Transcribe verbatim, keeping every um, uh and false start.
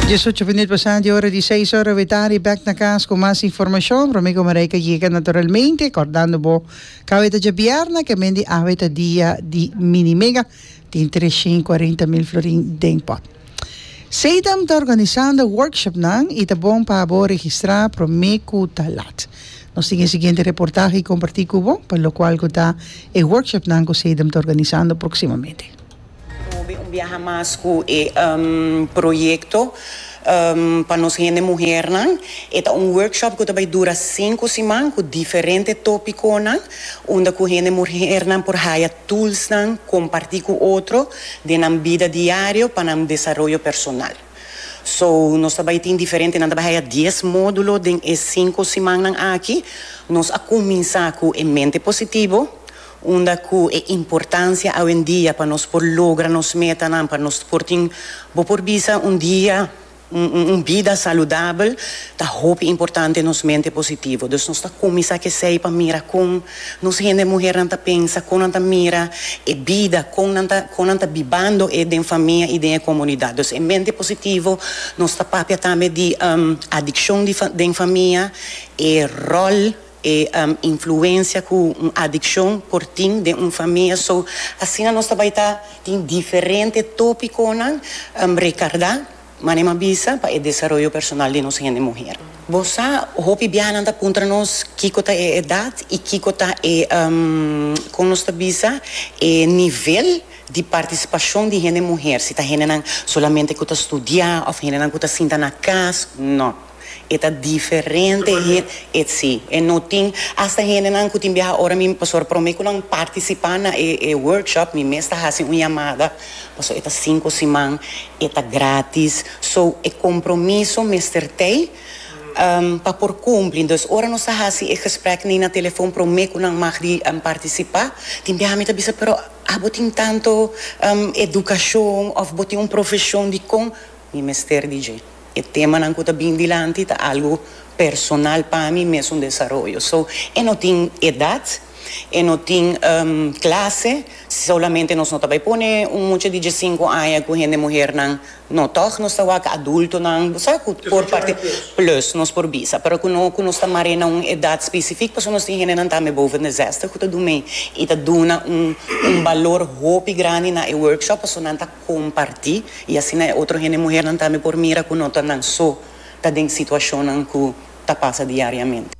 Diesocho minuut pasá di ora di seis or, Wetari back na cas cu mas informacion. Prome cu Marijke yega, naturalmente, cordando bo cu awe ta diabierna, kiermen awe ta dia di mini mega, tin trescientos cuarenta mil florin den pot. Seidam ta organisando workshop nan y ta bon pa bo registra prome cu ta laat. Nos tin e siguiente reportahe comparti cu bo, pa locual cu ta e workshop nan cu Seidam ta organisando proximamente. Un biaha mas cu e um, proyecto um, pa nos hende muhernan. E ta un workshop cu ta bay dura cinco siman cu diferente topiconan, unda cu hende muhernan por haya tools nan, comparti cu otro den nan bida diario pa nan desaroyo personal. So, nos ta bay tin diferente, nan ta bay haya dies modulo den e cinco simannan aki. Nos a cuminsa cu e mente positivo, unda cu e importancia awendia pa nos por logra nos metanan, pa nos por tin, bo por bisa un dia un, un, un bida saludabel, ta hopi importante nos mente positivo. Dus nos ta cuminsa cu esey pa mira con nos hende muhernan ta pensa, con nan ta mira e bida, con nan ta con nan ta bibando e den famia y den comunidad. Dus e mente positivo, nos ta papia tambe di um, adiccion di fa, den famia, e rol e um, influencia cu un adiccion por tin den un famia. So, asina nos tambe ta tin diferente topiconan um, recarga, manera bisa pa e desaroyo personal di nos hende muher. Bo sa, hopi biaha nan ta puntra nos kico ta e edad y kico ta e um, con nos ta bisa e nivel di participacion di hende muher, si ta hendenan solamente cu ta studia of hendenan cu ta sinta na cas, no. E ta diferente e si e no tin hasta hendenan cu tin biaha ora mi pasobra prome cu nan participa na e, e workshop, mi mes ta haci un yamada, paso e ta cinco siman, e ta gratis, so e compromiso mester t'ey um, pa por cumpli. Dus ora nos hasi e gesprek ni na telefon prome cu nan mag di um, participa, tin biaha mi ta bisa, pero abo tin tanto um, educacion of bo tin un profesion, di con mi mester di dje? E temanan cu ta bin dilanti ta algo personal pa mi mes un desaroyo. So, e no tin edad, e no tin um, clase, solamente nos no ta bay pone un mucha di diescinco aña cu hende muhernan, no toch, nos ta wak adultonan, sa cu por parte plus nos por bisa, pero cu no cu nos ta mara na un edad specifico, paso nos tin hendenan tambe boven de zestig cu ta doen mee y ta duna un un balor hopi grandi na e workshop, paso nan ta comparti y asina otro hende muhernan tambe por mira cu no ta nan so ta den situacionnan cu ta pasa diariamente.